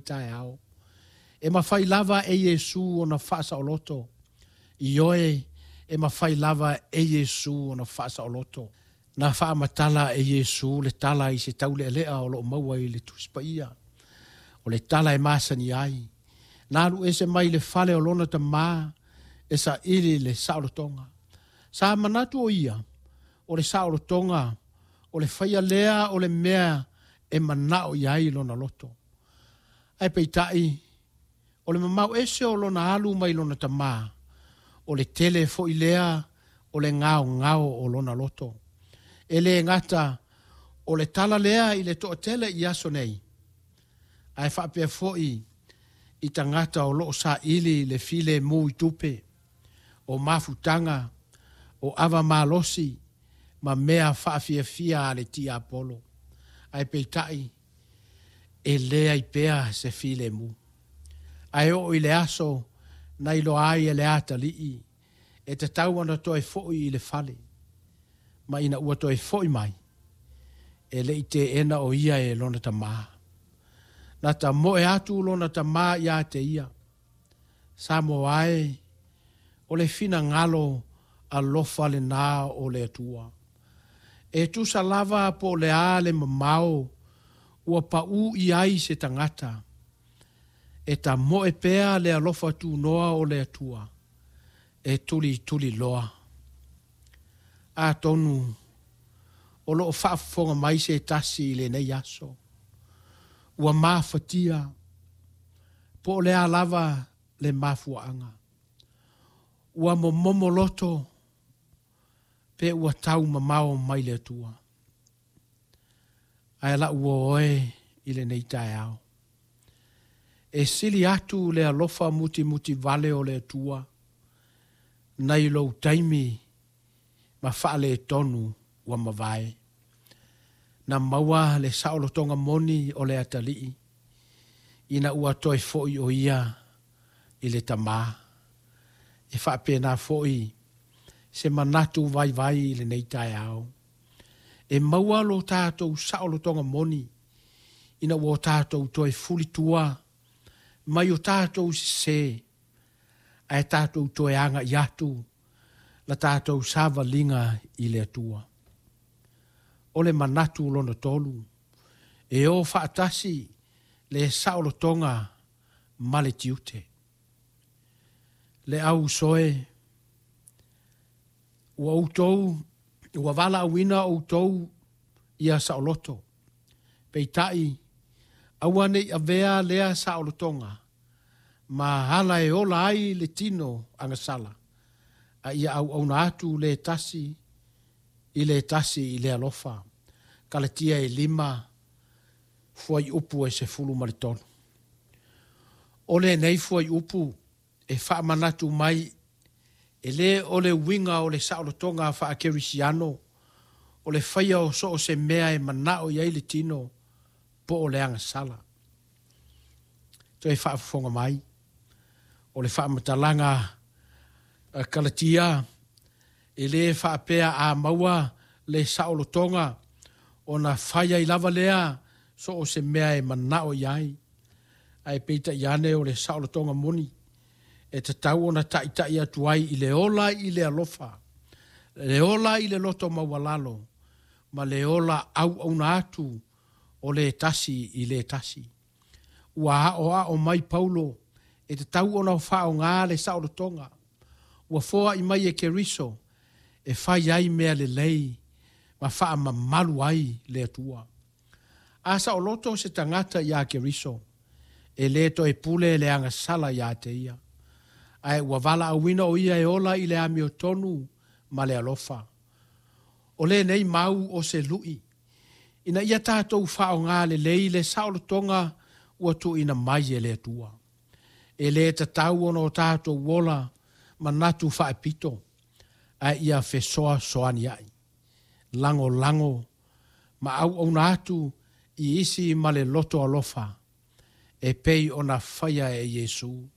taeao. E mafai lava e Iesu ona faasaoloto. Ioe, e mafai lava e Iesu ona faasaoloto. Na faamatala e Iesu le tala i se taulealea o lo o maua i le Tusi Paia. O le tala e masani ai. Na alu ese mai le fale o lona tamā e saili le saolotoga. Sa manatu o ia, o le saolotoga, o le faia lea o le mea e manao i ai lona loto. Ae peitai, o le mamao ese o lona alu mai lona tamā, o le tele foi lea o le gaogao o lona loto. E le gata o le tala lea i le toatele i aso nei, ae faapea foi i tagata o lo o saili le filemu i tupe, o mafutaga, o ava malosi ma mea faafiafia a le tiapolo. Ae peitai, e leai pea se filemu. Ae oo i le aso na iloa ai e le atalii e tatau ona toe foi i le fale, ma ina ua toe foi mai, e le i teena o ia e lona tamā. Na tamoe atu lona tamā ia te ia. Samoa e, o le finagalo alofa lenā o le Atua. E tusa lava po o le a le mamao ua paū i ai se tagata, e tamoe pea le alofa tunoa o le Atua e tulituliloa. Atonu o lo o faafofoga mai se tasi i lenei aso, ua mafatia po o le a lava le mafuaaga, ua momomo loto pe ua tau mamao mai le Atua. Ae lau uo oe i lenei taeao, e sili atu le alofa mutimutivale o le Atua nai lou taimi ma faaletonu ua mavae. Na maua le saolotoga moni o le atalii ina ua toe foi o ia i le tamā. E faapena foi se manatu vaivai i lenei taeao. E maua lo tatou saolotoga moni ina ua tatou toe fulitua mai o tatou sesē, ae tatou toe agai atu la tatou savaliga i le Atua. O le manatu lona tolu, e o faatasi le saolotoga ma le tiute. Le au uso e, ua outou, ua valaauina outou ia saoloto. Peitai, aua ne i avea lea saolotoga ma ala e ola ai le tino agasala, a ia auauna atu le tasi i le tasi i le alofa. Kalatia e 5, fuaiupu e 13. O lenei fuaiupu e faamanatu mai e lē o le uiga o le saolotoga faakerisiano o le faia o so o se mea e manao i ai le tino po o le agasala. Toe faafofoga mai, o le faamatalaga a Kalatia e lē faapea a maua le saolotoga ona fai ai lava lea so o se mea e manao i ai. Ae peitai ane o le saolotoga moni e tatau ona taitai atu ai i le ola i le alofa, le ola i le loto maualalo, ma le ola auauna atu o le tasi i le tasi. Ua aoao mai Paulo e tatau ona faaaoga le saolotoga ua foai mai e Keriso e fai ai mea lelei ma faamamalu ai le Atua. A saoloto se tagata iā Keriso, e lē toe pule le agasala iā te ia, ae ua valaauina o ia e ola i le amiotonu ma le alofa. O lenei mau o se lu'i, ina ia tatou faaaoga lelei le saolotoga ua tuuina mai e le Atua. E lē tatau ona o tatou ola manatu faapito, ae ia fesoasoania'i, lagolago ma auauna atu i isi ma le loto alofa e pei ona faia e Iesu.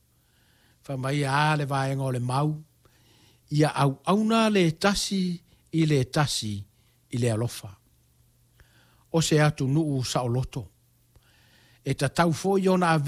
Fai mai a le vaega o le mau, ia auauna le tasi i le tasi i le alofa. O se atunuu saoloto, e tatau foi ona avea